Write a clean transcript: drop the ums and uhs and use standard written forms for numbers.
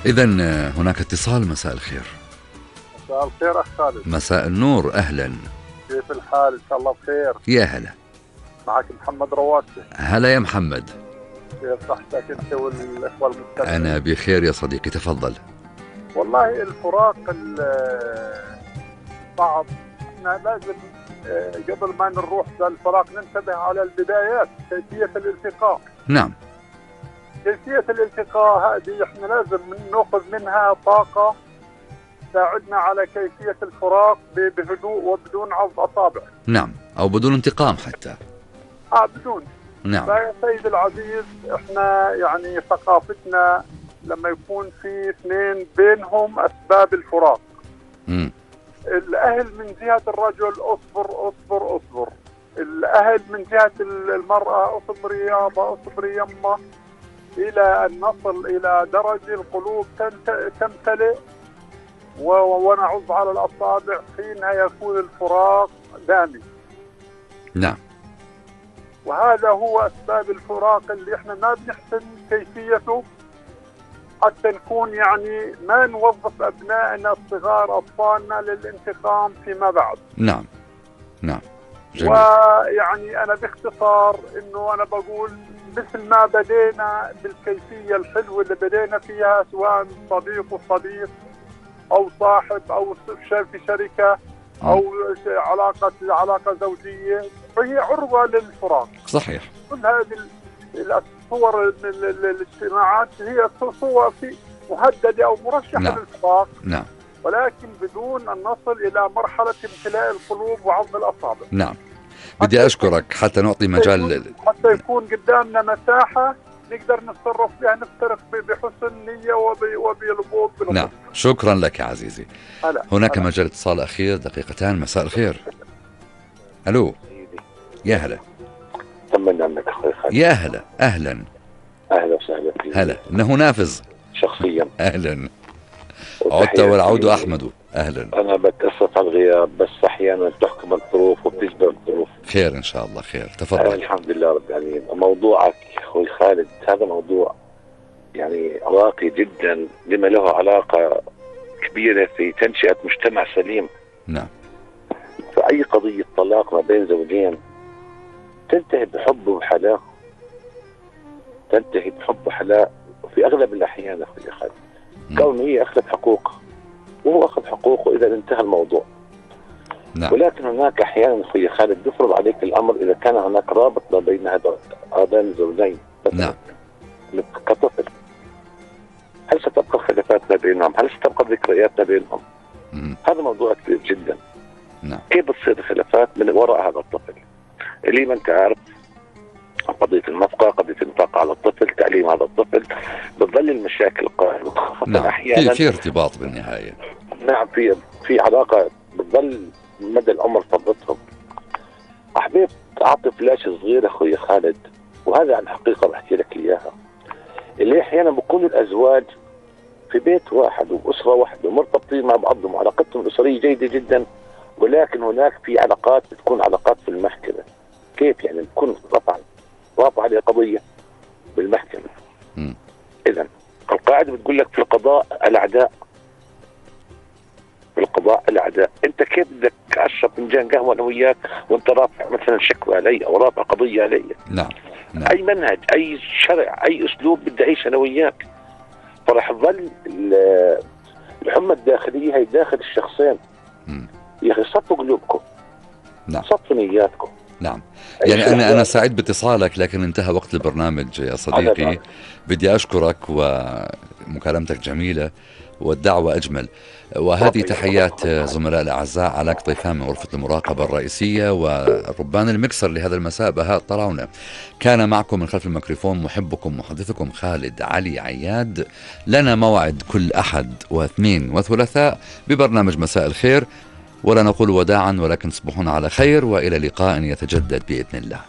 إذن هناك اتصال. مساء الخير. مساء الخير أخ خالد. مساء النور، أهلا. كيف الحال؟ إن شاء الله بخير. يا هلا. معك محمد رواتي. هلا يا محمد. كيف صحتك أنت والإخوة المستمعين؟ أنا بخير يا صديقي، تفضل. والله الفراق صعب. احنا لازم قبل ما نروح للفراق ننتبه على البدايات، كيفية الالتقاء. نعم. كيفية الالتقاء هذه احنا لازم نأخذ منها طاقة تساعدنا على كيفية الفراق بهدوء وبدون عض أصابع. نعم، أو بدون انتقام حتى. بدون. نعم. فيا سيد العزيز احنا يعني ثقافتنا لما يكون في اثنين بينهم أسباب الفراق. الأهل من جهة الرجل أصبر أصبر أصبر، الأهل من جهة المرأة أصبر يابا أصبر يما، إلى أن نصل إلى درجة القلوب تمتلئ ونعض على الأصابع، حينها يكون الفراق دامي. نعم. وهذا هو أسباب الفراق اللي احنا ما بنحسن كيفيته، حتى نكون يعني ما نوظف أبنائنا الصغار أطفالنا للانتقام فيما بعد. نعم. نعم. جميل. ويعني أنا باختصار إنه أنا بقول مثل ما بدينا بالكيفية الحلوة اللي بدينا فيها، سواء صديق وصديق أو صاحب أو في شركة أو علاقة زوجية، فهي عرضة للفراق. صحيح. كل هذه الصور الاجتماعات هي صور مهددة أو مرشحة. نعم. للفراق. نعم. ولكن بدون أن نصل إلى مرحلة امتلاء القلوب وعض الأصابع. نعم. بدي أشكرك حتى نعطي مجال، حتى يكون قدامنا مساحة نقدر نتصرف فيها، نفترق بحسن نية وبالبوض. نعم. شكرا لك يا عزيزي. هناك مجال اتصال أخير، دقيقتان. مساء الخير. ألو. يا هلا. طمنا عنك أخوي خالد. يا هلا. أهلا. أهلا وسهلا. هلا. إنه نافذ شخصيا. أهلا. عدت والعود أحمد. أهلا. أنا بتأسف على الغياب، بس أحيانا تحكم الظروف وبتجبر الظروف. خير إن شاء الله. خير. تفضل. الحمد لله رب العالمين. موضوعك أخوي خالد هذا موضوع يعني راقي جدا، لما له علاقة كبيرة في تنشئة مجتمع سليم. نعم. فأي قضية طلاق ما بين زوجين تنتهي بحب وحلاء، تنتهي بحب وحلاء في أغلب الأحيان أخوي خالد، كونه هي أخذت حقوق وهو أخذ حقوقه إذا انتهى الموضوع. نعم. ولكن هناك أحيانا أخوي خالد يفرض عليك الأمر إذا كان هناك رابط ما بين هذين الزوجين. نعم. كطفل، هل ستبقى خلافات ما بينهم؟ هل ستبقى ذكريات ما بينهم؟ هذا موضوع كبير جدا. نعم. كيف بتصير خلافات من وراء هذا الطفل؟ اللي ما انت عارف قضية النفقة، قضية النفقة على الطفل، تعليم هذا الطفل، بتظل المشاكل قائمة. نعم. أحيانا في ارتباط بالنهاية. نعم. في علاقة بتظل مدى العمر فترتهم. أحبيت أعطي فلاش صغير أخوي خالد، وهذا عن حقيقة بحكي لك إياها، اللي أحيانا بكون الأزواج في بيت واحد وأسرة واحدة ومرتبطين مع بعضهم وعلاقتهم الأسرية جيدة جدا، ولكن هناك في علاقات بتكون علاقات في المحكمة. كيف يعني؟ بتكون رافع عليه قضية بالمحكمة. إذن القاعدة بتقول لك في القضاء الأعداء، في القضاء الأعداء. أنت كيف بدك أشرب فنجان قهوة أنا وياك وأنت رافع مثلا شكوى علي أو رافع قضية علي؟ نعم. نعم. أي منهج، أي شرع، أي أسلوب بدي أعيش أنا وياك؟ فرح تظل الحمى الداخلية هي داخل الشخصين. يا أخي صفوا قلوبكم. نعم. صفوا نياتكم. نعم. يعني أنا سعيد باتصالك، لكن انتهى وقت البرنامج يا صديقي. بدي أشكرك، ومكالمتك جميلة والدعوة أجمل. وهذه تحيات زملاء الأعزاء علاء طيفان من غرفة المراقبة الرئيسية، وربان المكسر لهذا المساء بهاء طلعونة. كان معكم من خلف الميكروفون محبكم محدثكم خالد علي عياد. لنا موعد كل أحد واثنين وثلاثاء ببرنامج مساء الخير، ولا نقول وداعا ولكن تصبحون على خير، وإلى لقاء يتجدد بإذن الله.